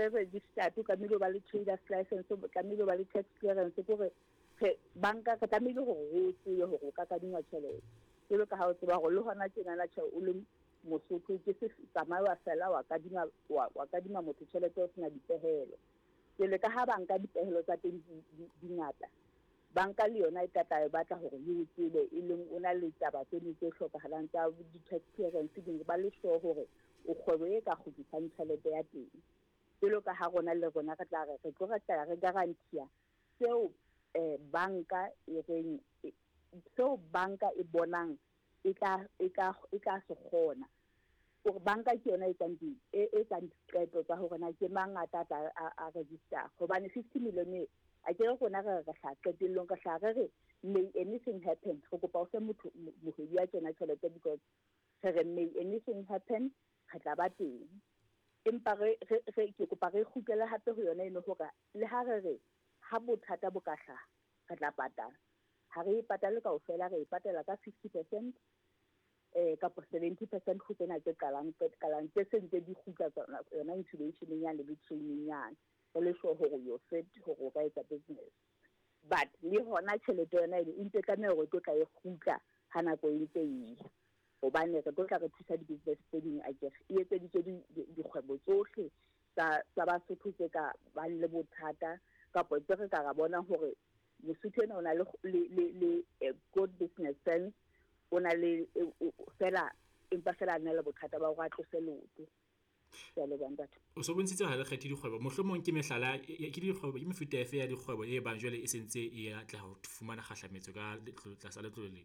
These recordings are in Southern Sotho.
re registered, o tlamehile o ba le traders license, o tlamehile o ba le tax clearance, ke hore re banka re tlamehile hore o tsebe hore o ka kadingwa tjhelete. Jwalo ka ha o tseba hore le hona tjenana tjhe o le Mosotho ke se tsamaye wa fela wa kadima wa kadima motho tjhelete o sena dipehelo. Jwale ka ha banka dipehelo tsa teng di ngata, banka le yona e tla tla e batla hore e o tsebe, e leng o na le taba tseno tse hlokahalang tsa di-tax clearance ding, ba le sure hore o kgwebo e ka kgutlisang tjhelete ya teng. Jwalo ka ha rona le rona re tla re re tlo re tla re guarantee seo banka e reng seo banka e bonang e tla e tla e tla se kgona. Hore banka ke yona e etsang di e etsang diqeto tsa hore na ke mang a tla tla a register. Hobane 50 million e a ke re rona re re hla qetellong re hla re re may anything happen, re kopa o fe motho mohwebi wa tjena tjhelete because re re may anything happen, re tla ba teng. Empa re re ke kopa re kgutlele hape ho yona eno hore le ha re re ha bothata bo ka hlaha re tla patala, ha re e patale kaofela, re e patala ka 50% kapa 70% ho tsena tse qalang qalang tse seng tse di kgutla tsona yona incubation yane le training yane, re le sure hore you're fit hore o ka etsa business. But le hona tjhelete yona eno e ntse tlameha hore e tlo tla e kgutla ha nako e ntse e ya, hobane re tlo tla re thusa di-business tse ding akere e etseditswe dikgwebo tsohle tsa Basotho tse ka bang le bothata kapa tse re ka ra bona hore Mosotho ena o na le good business sense, o na le fela empa fela a na le bothata ba hore a tlose leoto. Ke a leboha ntate. O so bontshitse ha le kgethe dikgwebo, mohlomong ke mehlala ke dikgwebo ke mefuta efe ya dikgwebo e bang jwale e sentse e atleha ho fumana kgahlametso ka tlasa letlole le?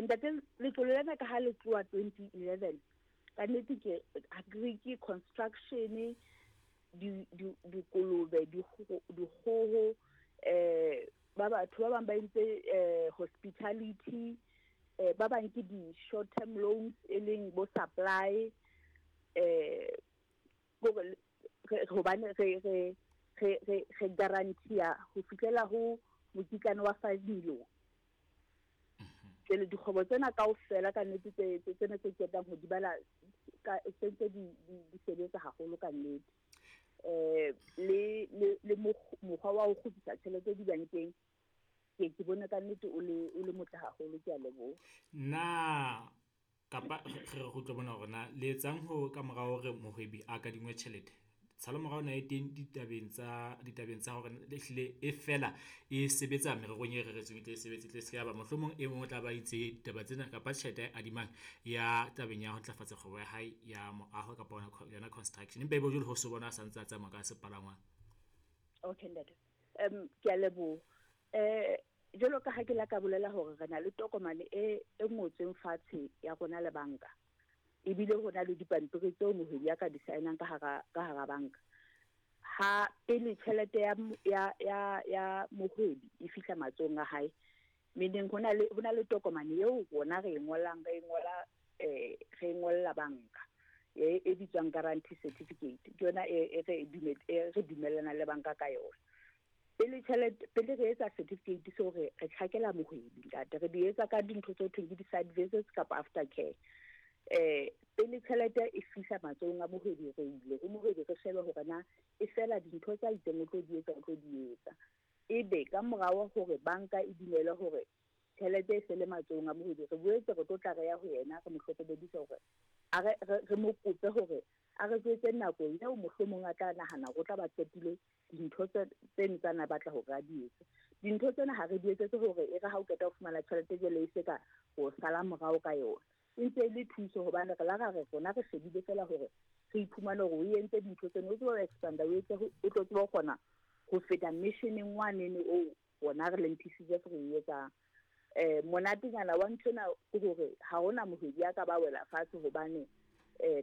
Ntate, letlole lena ka ha le tloha 2011, ka nnete ke agric, construction, dikolobe, dikgoho, ba batho ba bang ba entse hospitality, ba bang ke di short term loans e leng bo supply, hore hobane re guarantee ho fihlela ho mokitlane wa 5 million. Jwale dikgwebo tsena kaofela ka nnete tse tsena tse ketang ho di bala ka sentse di sebetsa haholo ka nnete. Le mokgwa wa ho kgutlisa tjhelete dibankeng ke bone ka nnete o le motle haholo, ke a leboha. Na kapa re re kgutle mona hore na le etsang ho ka mora hore mohwebi a kadingwe tjhelete? Tshalo morao na e teng ditabeng tsa hore le hlile e fela e sebetsa mererong e reretsweng e tle e sebetse, tle se ka ba mohlomong e mong o tla ba itse ditaba tsena kapa tjhelete a adimang ya tabeng ya ho ntlafatsa kgwebo ya hae ya moaho kapa yona construction, empa ebe jwale ho so bona a santse a tsamaya ka sepalangwang. Okay ntate, ke a leboha. Jwalo ka ha ke la ka bolela hore re na le tokomane e ngotsweng fatshe ya rona le banka, ebile ho na le dipampiri tseo mohwebi a ka di sign-ang ka hara banka. Ha pele tjhelete ya mohwebi e fihla matsohong a hae, meaning ho na le tokomane eo rona re e ngolang, re e ngola re e ngolla banka e bitswang guarantee certificate, ke yona e re dumellana le banka ka yona. Pele tjhelete, pele re etsa certificate seo, re tjhakela mohwebi ntate, re di etsa ka dintho tse thweng ke di-site visits kapa after care. Pele tjhelete e fihla matsohong a mohwebi, re ile ho mohwebi re shebe hore na e fela dintho tsa itseng o tlo di etsa, o tlo di etsa. Ebe ka morao hore banka e dumele hore tjhelete e sele matsohong a mohwebi, re boetse re tlo tla re ya ho yena, re mo hlokomedisa hore a re mo kope hore a re jwetse nako eo mohlomong a tla nahana hore o tla ba qetile dintho tseno tsa na batla hore a di etse. Dintho tsena ha re di etsetse hore e re ha o qeta ho fumana tjhelete jwale e se ka ho sala morao ka yona, e ntse e le thuso, hobane re la ra re rona re shebile fela hore re iphumane hore o entse dintho tseno, o tsebe ho expanda, o etse o tlo tsebe ho kgona ho feta missioneng wanene oo rona re leng PCGF re e etsang. Monatenyana wa nthwena ke hore ha hona mohwebi a ka ba wela fatshe hobane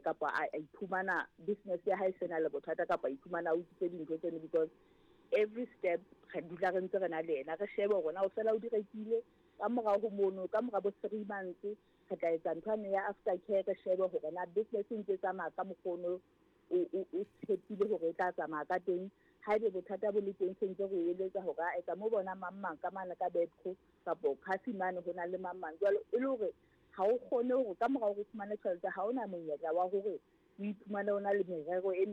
kapa a iphumana business ya hae sena le bothata kapa a iphumana a utswitse dintho tseno, because every step re dula re ntse re na le yena, re shebe hore na o fela o di rekile. Ka morao ho mono, ka mora bo 3 months, re tla etsa ntho yane ya after care, re shebe hore na business e ntse tsamaya ka mokgono o tshepile hore e tla tsamaya ka teng. Haebe bothata bo le teng, se ntse re o eletsa hore a etsa mo bona mang mang ka mane ka Bedco kapo Kasi mane ho na le mang mang jwalo, e le hore ha o kgone hore ka mora hore o fumane tjhelete ha ona monyetla wa hore o iphumane o na le merero e.